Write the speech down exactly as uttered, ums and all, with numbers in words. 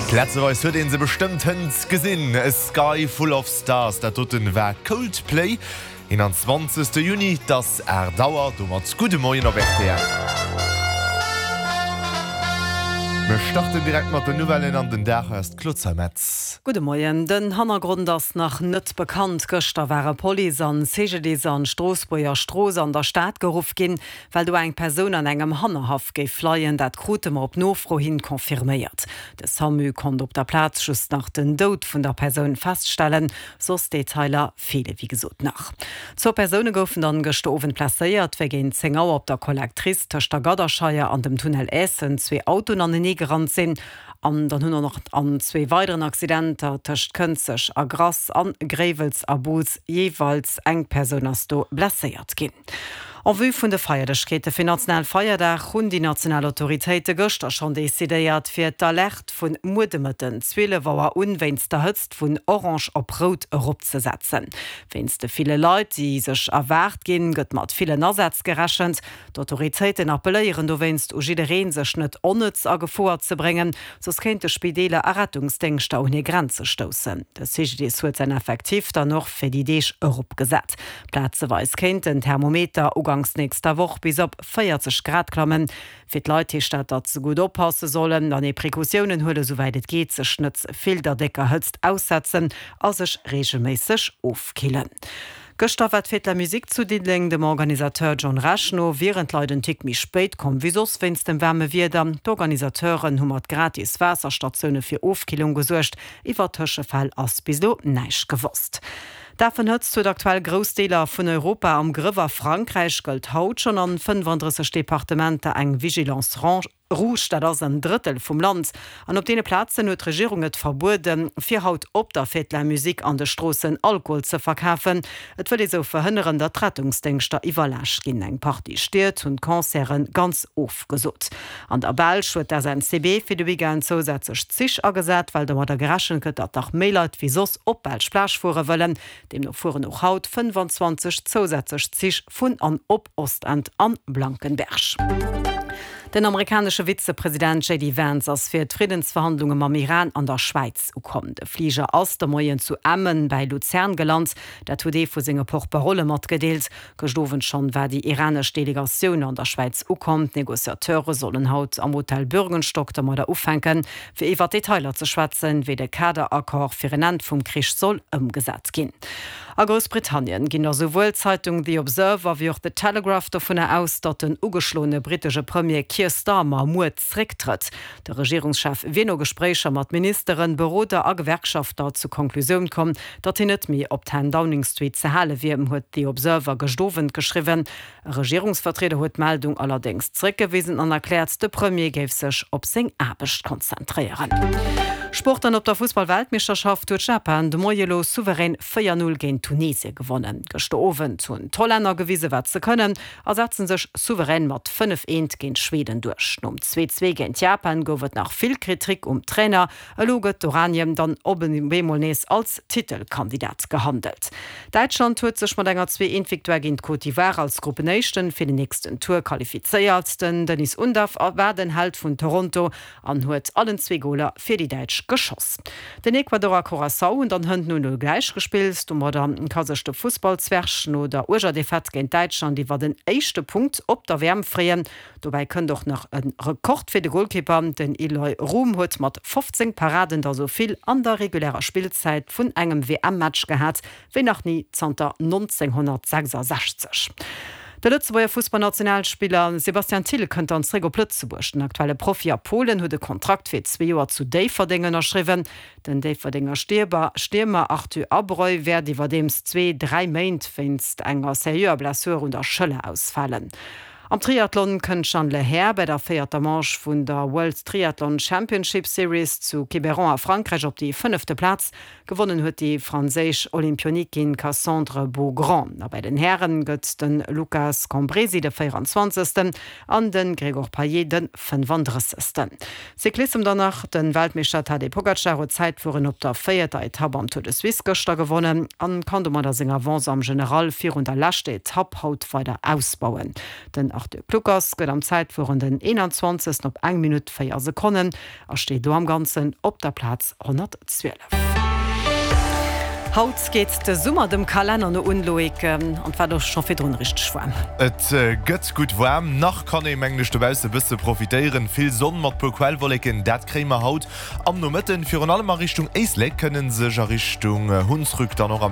Plazeweis huet een se bestëmmt hënt gesinn. A Sky Full of Stars, dat doten war Coldplay. eenanzwanzegste Juni, 't ass aacht Auer, domat gudde Moien op R T L. Mir starten direkt mat den Nouvellen an den Dag. Hei ass d'Claude Zeimetz. Gudde Moien. Den Hannergrond ass nach net bekannt. Gëschter ware Police an C G D I S an d'Stroossbuerger Strooss an der Stad geruff ginn, well do eng Persoun an engem Hannerhaff géif leien. Dat krute mer op Nofro hin confirméiert. De SAMU konnt op der Plaz just nach den Doud vun der Persoun feststellen, soss Detailer feele wéi gesot nach. Zwou Persoune goufen dann gëschter Owend blesséiert, wéi géint zéng Auer op der Collectrice tëscht der Gadderscheier an dem Tunnel Eessen zwee Autoen anenee gerannt sinn. An dann hunn och nach an zwee weideren Accidenter tëscht Kënzeg a Grass an Gréiwels a Boos jeeweils eng Persoun ass do blesséiert ginn. En vue vun de Feierlechkeete fir Nationalfeierdag hunn déi national Autoritéite gëschter schonn decidéiert, fir d'Alerte vun muer de Mëtten zwielef Auer un wéinst der Hëtzt vun orange op rout eropzesetzen. Wéinst de ville Leit, déi sech erwaart ginn, gëtt mat villen Asätz gerechent. D'Autoritéiten appelléieren dowéinst u jiddereen, sech net onnëtz a Gefor ze bréngen, soss kéinte Spideeler a Rettungsdéngschter un hir Grenze stoussen. De C G D I S huet säin Effektiv dann och fir déi Deeg eropgesat. Plazeweis kéint den Thermometer uganks nächster Woch bis op véierzeg Grad klammen. Fir d'Leit heescht dat, datt se gutt oppasse sollen, an Precautiounen huelen, souwäit et geet, sech net ze vill der décker Hëtzt aussetzen a sech reegelméisseg ofkillen. Gëschter war d'Fête de la Musique zu Diddeleng. Dem Organisateur John Rech no wieren d'Leit en Tick méi spéit komm wéi soss wéinst dem waarme Wieder. D'Organisateuren hu mat gratis Waasserstatioune fir Ofkillung gesuergt. Iwwer Tëschefäll ass bis elo näischt gewosst. D'Affenhëtzt huet aktuell grouss Deeler vun Europa am Grëff. A Frankräich gëllt haut schonn an fënnefandrësseg Departementer eng Vigilance rouge, dat ass en Drëttel vum Land. An op deene Plazen huet d'Regierung et verbueden, fir haut op der Fête de la Musique an de Stroossen Alkohol ze verkafen. Et wëll ee sou verhënneren, datt d'Rettungsdéngschter iwwerlaascht ginn. Eng Partie Stied hunn d'Concerte ganz ofgesot. An der Belsch huet d'S N C B fir de Weekend zousätzlech Zich agesat, well domadder gerechent gëtt, datt nach méi Leit wéi soss op d'Belsch Plage fuere wëllen. Deemno fueren och haut fënnfanzwanzeg zousätzlech Zich vun an op Ostend an Blankenberg. Den amerikanesche Vizepresident J D Vance ass fir d'Friddensverhandlunge mam Iran an der Schwäiz ukomm. De Fliger ass de Moien zu Emmen bei Luzern gelant, dat huet ee vu senge Porte-parolë matgedeelt. Gëschter Owend schonn war déi iranesch Delegatioun an der Schwäiz ukomm. D'Negociateure sollen haut am Hotel Bürgenstock domadder ufänken, fir iwwer Detailer ze schwätzen, wéi de Kaderaccord fir en Enn vum Krich soll ëmgesat ginn. A Groussbritannien ginn der souwuel d'Zeitung The Observer wéi och The Telegraph dovunner aus, datt den ugeschloene brittesche Premier Keir Starmer muer zrécktrëtt. De Regierungschef wier no Gespréicher mat Ministeren, Beroder a Gewerkschafter zur Konklusioun komm, datt hien net méi op Ten Downing Street ze hale wier, huet The Observer gëschter Owend geschriwwen. E Regierungsvertrieder huet d'Meldung allerdéngs zréckgewisen an erkläert, de Premier géif sech op seng Aarbecht konzentréieren. Sport an op der Fussball-Weltmeeschterschaft huet Japan de Moie lo souverän véier null géint Tunesien gewonnen. Gëschter Owend hunn d'Hollänner gewisen, wat se kënnen, a setzen sech souverän mat fënnef eent géint Schweden duerch. Nom zwee zwee géint Japan gouf et nach vill Kritik um Trainer. Elo gëtt d'Oranien dann op eemol nees als Titelkandidat gehandelt. Däitschland huet sech mat enger zwee eent Victoire géint Côte d'Ivoire als Gruppenéischten fir den nächsten Tour qualifizéiert. Den Deniz Undav war den Held vun Toronto an huet allen zwee Goler fir déi Däitsch geschoss. Den Ecuador a Curaçao hunn dann hënt null null gläich gespillt. Domadder ka sech de Fussballzwerg no der uerger Defaite géint Däitschland iwwer den éischte Punkt op der W M freeën. Dobäi kënnt och nach e Rekord fir de Golkipper. Den Eloy Room huet mat fofzéng Paraden der sou vill an der regulärer Spillzäit vun engem W M-Match gehat wéi nach ni zanter nonzénghonnertsechsasechzeg. De Lëtzebuerger Fussballnationalspiller Sebastian Thill kënnt dann zréck op Lëtzebuerg. Den aktuelle Profi a Polen huet e Kontrakt fir zwee Joer zu Déifferdeng ënnerschriwwen. Den Déifferdenger Stiermer Arthur Abreu wäert iwwerdeems zwee, dräi Méint wéinst enger seriöer Blessur un der Schëller ausfalen. Am Triathlon kënnt d'Jeanne Lehair bei der véierter Manche vun der World Triathlon Championship Series zu Quiberon a Frankräich op déi fënnefte Plaz. Gewonnen huet déi franséisch Olympionikin Cassandre Beaugrand. A bei den Häre gëtt de Lucas Cambresi de véieranzwanzegsten an de Grégoire Payet de fënnefandrëssegsten. Cyclissem dann nach, De Weltmeeschter Tadej Pogacar huet d'Zäitfueren op der véierter Etapp am Tour de Suisse gëschter gewonnen an kann domadder seng Avance am General virun der leschter Etapp haut weider ausbauen. Den Arthur Kluckers gëtt am Zäitfueren den eenanzwanzegsten op eng Minutt véier Sekonnen a steet do am Ganzen op der Plaz honnertzwielef. Haut geet de Summer dem Kalenner no un, Loïc, an et war do scho virdrun richteg waarm. Et gëtt gutt waarm, nach kann ee mengen ech dobausse bësse profitéieren. Vill Sonn mat puer Quellwolleken, dat kréie mer haut am Nomëtten. Virun allem a Richtung Éislek kënne sech a Richtung Hunsrück dann och am.